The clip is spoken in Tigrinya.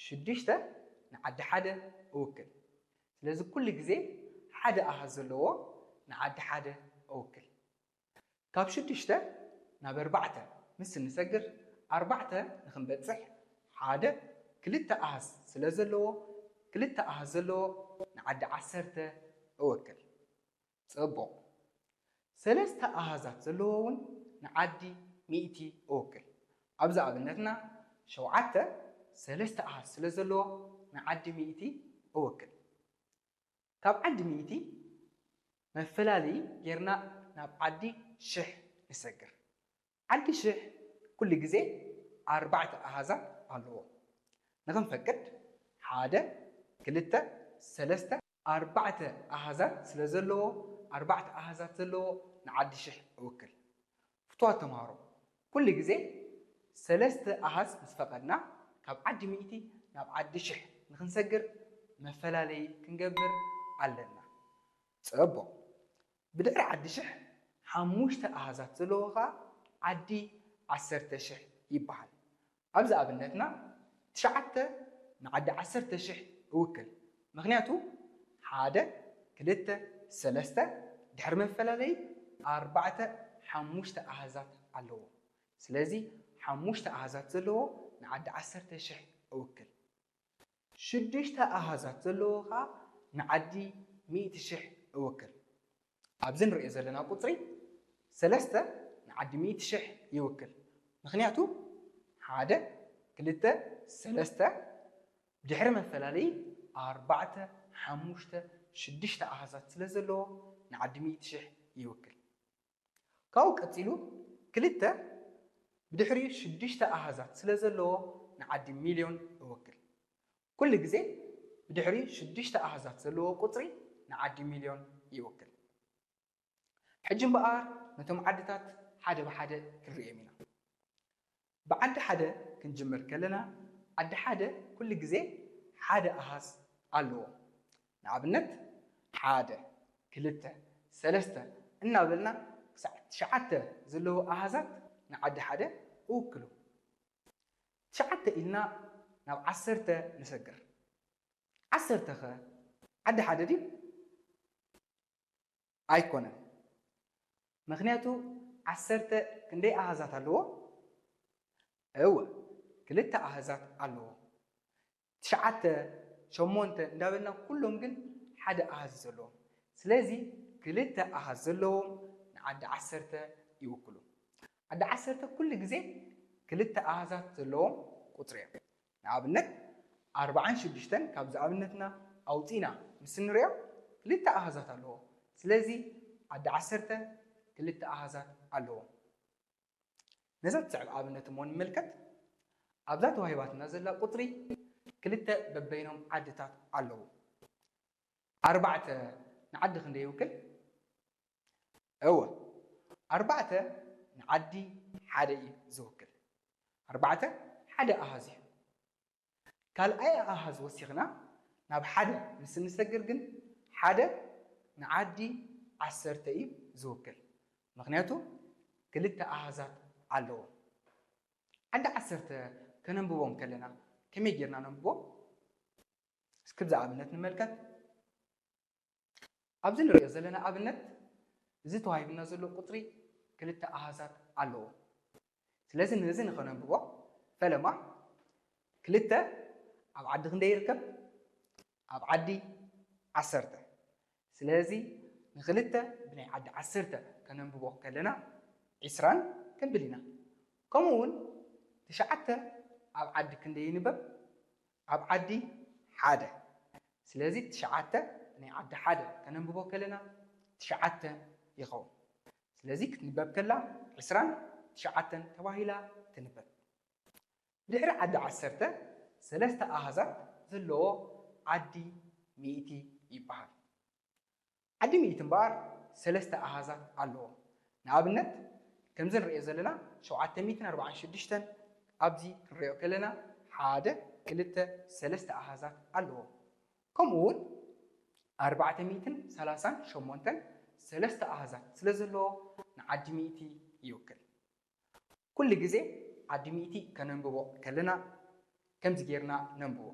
ሽዱሽተ ንዓዲ ሓደ እውክል። ስለዚ ኩሉ ግዜ ሓደ ኣሃዝ ዘለዎ ንዓዲ ሓደ እውክል። ካብ ሽዱሽተ ናብ ኣርባዕተ ምስ እንሰግር ኣርባዕተ ንክንበፅሕ ሓደ ክልተ ኣሃዝ ስለ ዘለዎ ክልተ ኣሃዝ ዘለዎ ንዓዲ ዓሰርተ እውክል። ፅቡቕ። ሰለስተ ኣሃዛት ዘለዎ እውን ንዓዲ ሚእቲ እውክል። ኣብዚ ኣብነትና ሸውዓተ ሰለስተ ኣሃዝ ስለ ዘለዎ ንዓዲ ሚእቲ እውክል። ካብ ዓዲ ሚእቲ መፈላለዪ ጌርና ናብ ዓዲ ሽሕ ንሰግር። ዓዲ ሽሕ ኩሉ ግዜ ኣርባዕተ ኣሃዛት ኣለዎ። ንኽንፈቅድ ሓደ፣ ክልተ፣ ሰለስተ፣ ኣርባዕተ ኣሃዛት ስለ ዘለዎ ኣርባዕተ ኣሃዛት ዘለዎ ንዓዲ ሽሕ እውክል። ፍትዋት ተምሃሮ፣ ኩሉ ግዜ ሰለስተ ኣሃዝ ምስ ፈቐድና ካብ ዓዲ ሚእቲ ናብ ዓዲ ሽሕ ንኽንሰግር መፈላለዪ ክንገብር ኣለና። ፅቡቕ። ብድሕሪ ዓዲ ሽሕ ሓሙሽተ ኣሃዛት ዘለዎ ኸዓ ዓዲ ዓሰርተ ሽሕ ይበሃል። ኣብዚ ኣብነትና ትሽዓተ ንዓዲ ዓሰርተ ሽሕ እውክል። ምኽንያቱ ሓደ፣ ክልተ፣ ሰለስተ፣ ድሕሪ መፈላለዪ ኣርባዕተ፣ ሓሙሽተ ኣሃዛት ኣለዎ። ስለዚ ሓሙሽተ ኣሃዛት ዘለዎ ንዓዲ ዓሰርተ ሽሕ እውክል። ሽዱሽተ ኣሃዛት ዘለዎ ኸዓ ንዓዲ ሚእቲ ሽሕ እውክል። ኣብዚ ንሪኦ ዘለና ቁፅሪ ሰለስተ ንዓዲ ሚእቲ ሽሕ ይውክል። ምኽንያቱ ሓደ፣ ክልተ፣ ሰለስተ፣ ድሕሪ መፈላለዪ ኣርባዕተ፣ ሓሙሽተ፣ ሽዱሽተ ኣሃዛት ስለ ዘለዎ ንዓዲ ሚእቲ ሽሕ ይውክል። ካብኡ ቀፂሉ ክልተ ብድሕሪኡ ሽዱሽተ ኣሃዛት ስለ ዘለዎ ንዓዲ ሚልዮን እውክል። ኩሉ ግዜ ብድሕሪኡ ሽዱሽተ ኣሃዛት ዘለዎ ቁፅሪ ንዓዲ ሚልዮን ይውክል። ሕጂ እምበኣር ነቶም ዓድታት ሓደ ብሓደ ክንርእዮም ኢና። ብዓዲ ሓደ ክንጅምር ከለና ዓዲ ሓደ ኩሉ ግዜ ሓደ ኣሃዝ ኣለዎ። ንኣብነት ሓደ፣ ክልተ፣ ሰለስተ እናበልና ክሳዕ ትሽዓተ ዘለዉ ኣሃዛት ንዓዲ ሓደ እውክሉ። ትሽዓተ ኢልና ናብ ዓሰርተ ንሰግር። ዓሰርተ ኸ ዓዲ ሓደ ድዩ? ኣይኮነን። ምኽንያቱ ዓሰርተ ክንደይ ኣሃዛት ኣለዎ? እወ ክልተ ኣሃዛት ኣለዎ። ትሽዓተ፣ ሸሞንተ እንዳበልና ኩሎም ግን ሓደ ኣሃዝ እዩ ዘለዎም። ስለዚ ክልተ ኣሃዝ ዘለዎም ንዓዲ ዓሰርተ ይውክሉ። ዓዲ ዓሰርተ ኩሉ ግዜ ክልተ ኣሃዛት ዘለዎም ቁፅሪ እዮም። ንኣብነት ኣርባዓን ሽዱሽተን ካብዚ ኣብነትና ኣውፂና ምስ እንሪኦ ክልተ ኣሃዛት ኣለዎ። ስለዚ ዓዲ ዓሰርተ ክልተ ኣሃዛት ኣለዎ። ነዛ ትስዕብ ኣብነት እሞ ንመልከት። ኣብዛ ተዋሂባትና ዘላ ቁፅሪ ክልተ በበይኖም ዓድታት ኣለዉ። ኣርባዕተ ንዓዲ ክንደይ ይውክል? እወ ኣርባዕተ ንዓዲ ሓደ እዩ ዝውክል። ኣርባዕተ ሓደ ኣሃዝ እዩ። ካልኣይ ኣሃዝ ወሲኽና ናብ ሓደ ምስ እንሰግር ግን ሓደ ንዓዲ ዓሰርተ እዩ ዝውክል። ምኽንያቱ ክልተ ኣሃዛት ኣለዎ። ዓዲ ዓሰርተ ከነንብቦም ከለና ከመይ ጌርና ነንብቦም? እስኪ ብዛ ኣብነት ንመልከት። ኣብዚ ንሪኦ ዘለና ኣብነት እዚ ተዋሂብና ዘሎ ቁፅሪ ክልተ ኣሃዛት ኣለዎ። ስለዚ ነዚ ንኸነንብቦ ፈለማ ክልተ ኣብ ዓዲ ክንደይ ይርከብ? ኣብ ዓዲ ዓሰርተ። ስለዚ ንክልተ ብናይ ዓዲ ዓሰርተ ከነንብቦ ከለና ዒስራን ክንብል ኢና። ከምኡ እውን ትሽዓተ ኣብ ዓዲ ክንደይ ይንበብ? ኣብ ዓዲ ሓደ። ስለዚ ትሽዓተ ብናይ ዓዲ ሓደ ከነንብቦ ከለና ትሽዓተ ይኸውን። ስለዚ ክትንበብ ከላ ዒስራን ትሽዓተን ተባሂላ ትንበብ። ድሕሪ ዓዲ ዓሰርተ ሰለስተ ኣሃዛት ዘለዎ ዓዲ ሚእቲ ይበሃል። ዓዲ ሚእቲ እምበኣር ሰለስተ ኣሃዛት ኣለዎ። ንኣብነት ከምዚ ንሪኦ ዘለና ሸውዓተ ሚእትን ኣርባዓን ሽዱሽተን ኣብዚ ክንሪኦ ከለና ሓደ፣ ክልተ፣ ሰለስተ ኣሃዛት ኣለዎ። ከምኡ እውን ኣርባዕተ ሚእትን ሰላሳን ሸሞንተን ሰለስተ ኣሃዛት ስለ ዘለዎ ንዓዲ ሚእቲ ይውክል። ኩሉ ግዜ ዓዲ ሚእቲ ከነንብቦ ከለና ከምዚ ጌርና ነንብቦ።